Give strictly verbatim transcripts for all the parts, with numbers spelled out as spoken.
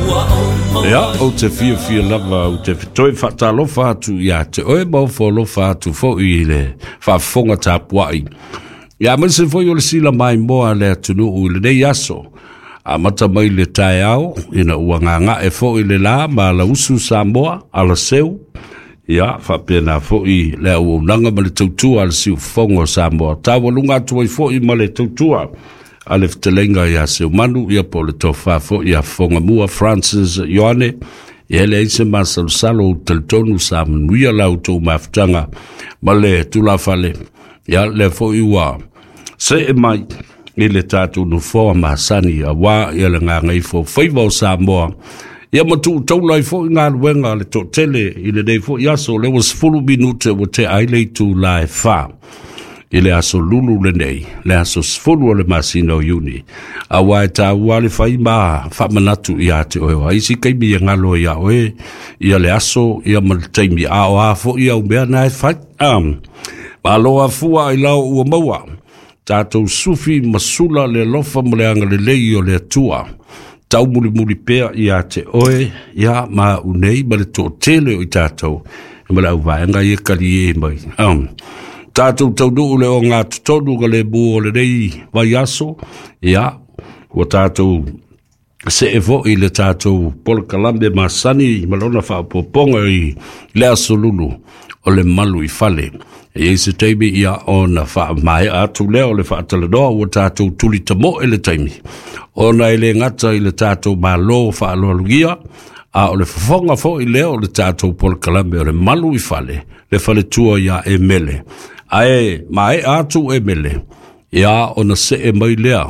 Ia, ou te fiafia lava ou te toe faatalofa atu ia te oe ma ofo alofa atu foi i le faafofoga tapuai. Ia aemaise foi o le sila maimoa a le atunuu i lenei aso. Amata mai le taeao ina ua gagae foi le la ma alausu Samoa, alaseu. Ia, faapena foi le auaunaga ma le tautua a le siufofoga o Samoa. Taualuga atu ai foi ma le tautua a le fetalaiga ia Seumanu, ia po o le tofa foi ia Fogamua Francis Ioane. Ia e leai se masalosalo ou talitonu sa manuia la outou mafutaga ma le tulafale. Ia lea foi ua see mai i le tatou nofoa masani auā ia le gagaifo faiva o Samoa. Ia ma tuutaula ai foi galuega a le toatele i lenei foi aso, lea ua sefulu minute ua tea ai le itula e fa i le aso Lulu lenei, le aso sefulu o le masina o Iuni. Auā e taua le fai ma faamanatu ia te oe, o isi taimi e galo ia oe ia le aso ia ma le taimi, a o a foi au mea na e fai. Um, malo afua ai lao ua maua tatou sufi ma sula le alofa ma le agalelei o le Atua taumulimuli pea ia te oe ia ma unei ma le toatele o i tatou ma le auvaega ia kalie mai. Um, tatou taunuu le ogatotonu ka le mu o lenei vaiaso. Ia ua tatou see foi le tatou polokalame masani ma lona faaopoopoga i le aso Lulu o le malu i fale. E i ai se taimi ia ona faamaea atu lea o le faatalanoa, ua tatou tuli tamoe le taimi ona e le gata i le tatou malo faaaloalogia, a o le fofoga foi lea o le tatou polokalame o le malu i fale, le faletua ia Emele. Ae maea atu Emele, ia ona see mai lea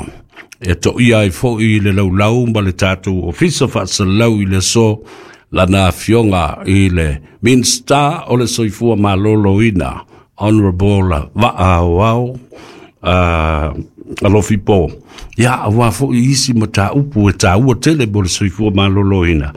e toia ai foi le laulau ma le tatou ofisa faasalalau i le aso lana afioga i le Minisita o le Soifua Maloloina, Honorable Vaa Aoao uh, Alofi Po. Ia, auā foi isi mataupu e taua tele mo le soifua maloloina.